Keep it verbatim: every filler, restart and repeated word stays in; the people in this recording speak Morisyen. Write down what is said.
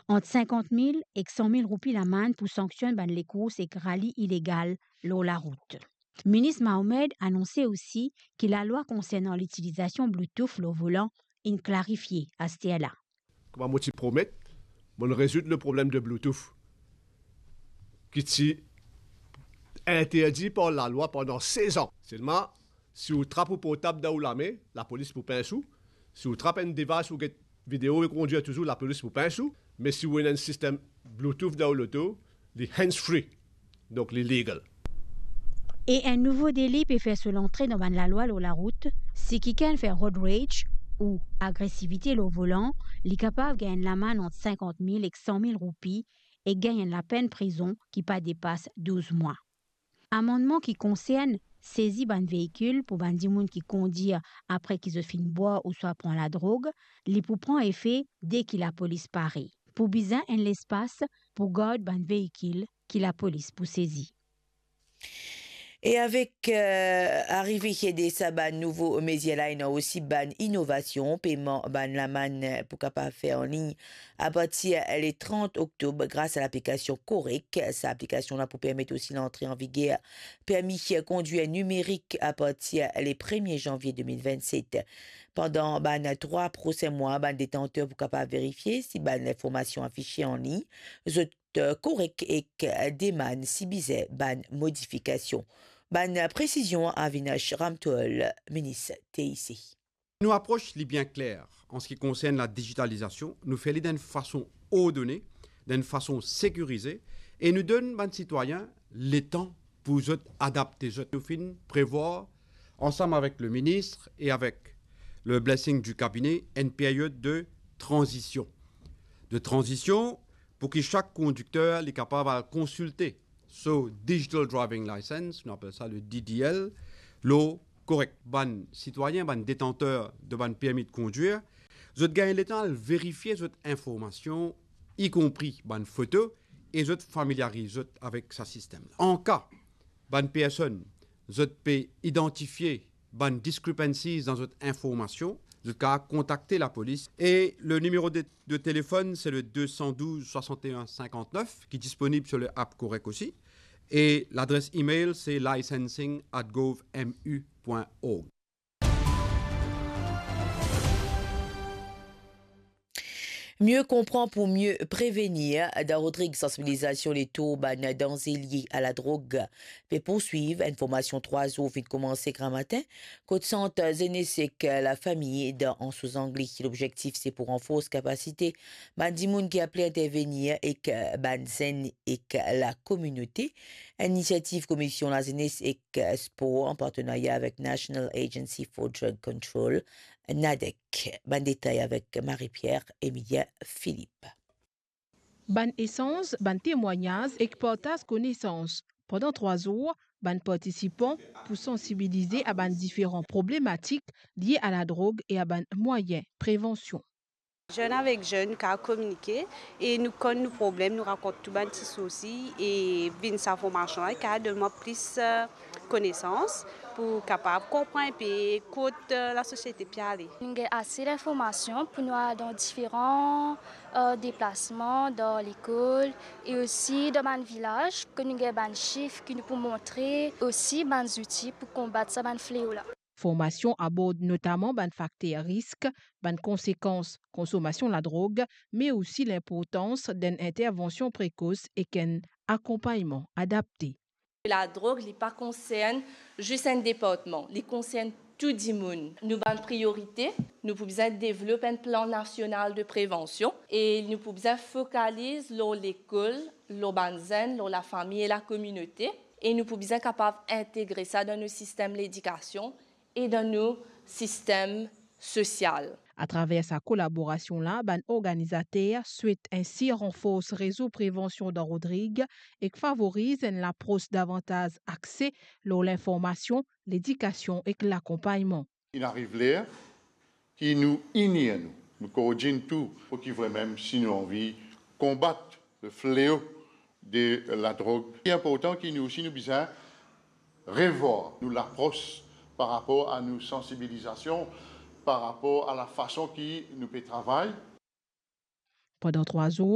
ant sinkant mil ek san mil roupi lamann pou sanksionn bann lekours ek rali ilegal lor larout. Minis Mohamed anonse osi ki lalwa konsernan litilizasion Bluetooth lor volan inn klarifie asterla. Kouma mo ti promet, mo'nn rezoud le problem de Bluetooth ki ti interdi par lalwa pandan sez an. Selman, si ou trap ou portab dan ou lame, lapolis pou pins ou. Si ou trap enn device ou get video e kondir touzour, lapolis pou pins ou. Me si ou ena enn sistem Bluetooth dan ou loto, li hands-free, donk li legal. E enn nouvo deli pe fer so lantre dan bann lalwa lor larout. Si kikenn fer road rage ou agresivite lor volan, li kapav gagn enn lamann ant sinkant mil ek san mil roupi e gagn enn lapenn prizon ki pa depas douz mwa. Amannman ki konsern sezi bann veikil pou bann dimoun ki kondir apre ki zot finn bwar ouswa pran ladrog, li pou pran efe deki lapolis pare. Pou bizin enn lespas pou gard bann veikil ki lapolis pou sezi. E avek, eh, arive de sa bann nouvo mezir la, ena osi bann inovasion, peyman bann lamann, eh, pou kapav fer anlign apartir le trant oktob gras a laplikasion Correc. Sa aplikasion la pou permet osi lantre an viger permi kondwir nimerik apartir le premie zanvie de mil vennset. Pandan bann trwa prosin mwa, bann detanter pou kapav verifie si bann linformasion afise anlign, zot, eh, korek ek, eh, demann si bizin bann modifikasion. Bann presizion Avinash Ramtoul, minis T I C. Nou apros li bien kler an se ki konsern la digitalizasion, nou fer li dan enn fason ordone, dan enn fason sekirize, e nou donn bann sitwayin letan pou zot adapte zot. Nou finn prevwar, ansam avek le minis e avek le blessing du cabinet, enn period de tranzision. De tranzision pou ki sak kondikter li kapav al konsilte so Digital Driving License, nou apel sa le D D L, lor korek. Bann sitwayin, bann detanter de bann permi de kondwir, zot gagn letan al verifie zot informasion, ikonpri bann foto, e zot familiariz zot avek sa sistem la. An ka bann personn, zot pe idantifie bann discrepancies dan zot informasion, zot kapav kontakte lapolis. E le nimero de, de telefonn, se le deux cent douze soixante et un cinquante-neuf, ki disponib sur le app Correc osi. E ladres email, se licensing at gov M U point org. Mie konpran pou mie prevenir. Dan Rodrig, sansibilizasion letour bann danze lie a ladrog pe pourswiv. Enn formasion trwa zour finn koumanse gramatin, kot sant zenes ek lafami dan Anse aux Anglais. Lobzektif se pou ranfors kapasite bann dimoun ki apre intervenir ek bann zenn ek lakominote. Enn inisiativ Komision Lazenes ek Spor an partenarya avek National Agency for Drug Control, NADEC. Bann detay avek Marie-Pierre Emilien Philippe. Bann esanz, bann temwagnaz ek partaz konesans. Pandan trwa zour, bann partisipan pou sansibilize a bann diferan problematik lie a ladrog e a bann mwayin prevansion. Zenn avek zenn, nou kapav kominike e nou konn nou problem, nou rakont tou bann ti sousi e vinn sa formasion la, kapav donn mwa plis, eh, konesans pou kapav konpran inpe kot, eh, lasosiete pe ale. Nou gagn ase linformasion pou nou al dan diferan, eh, deplasman, dan lekol e osi dan bann vilaz, kot nou gagn bann sif ki nou pou montre, osi bann zouti pou konbat sa bann fleo la. Formasion abord notaman bann fakter risk, bann konsekans konsomasion ladrog, me osi linportans d'enn intervansion prekos ek enn akonpagnman adapte. Ladrog, li pa konsern zis enn departman, li konsern tou dimoun. Nou bann priorite, nou pou bizin devlop enn plan nasional de prevansion e nou pou bizin fokaliz lor lekol, lor bann zenn, lor lafami e lakominote, e nou pou bizin kapav integre sa dan nou sistem ledikasion e dan nou sistem sosial. Atraver sa kolaborasion la, bann organizater swet ensi ranfors rezo prevansion dan Rodrig ek favoriz enn lapros davantaz akse lor linformasion, ledikasion ek lakonpagnman. Inn ariv ler ki nou inir nou, nou koordinn tou, pou ki vremem si nou anvi konbat le fleo de ladrog. Li inportan ki nou osi nou bizin revwar nou lapros par rapor a nou sansibilizasion, par rapor a lafason ki nou pe travay. Pandan trwa zour,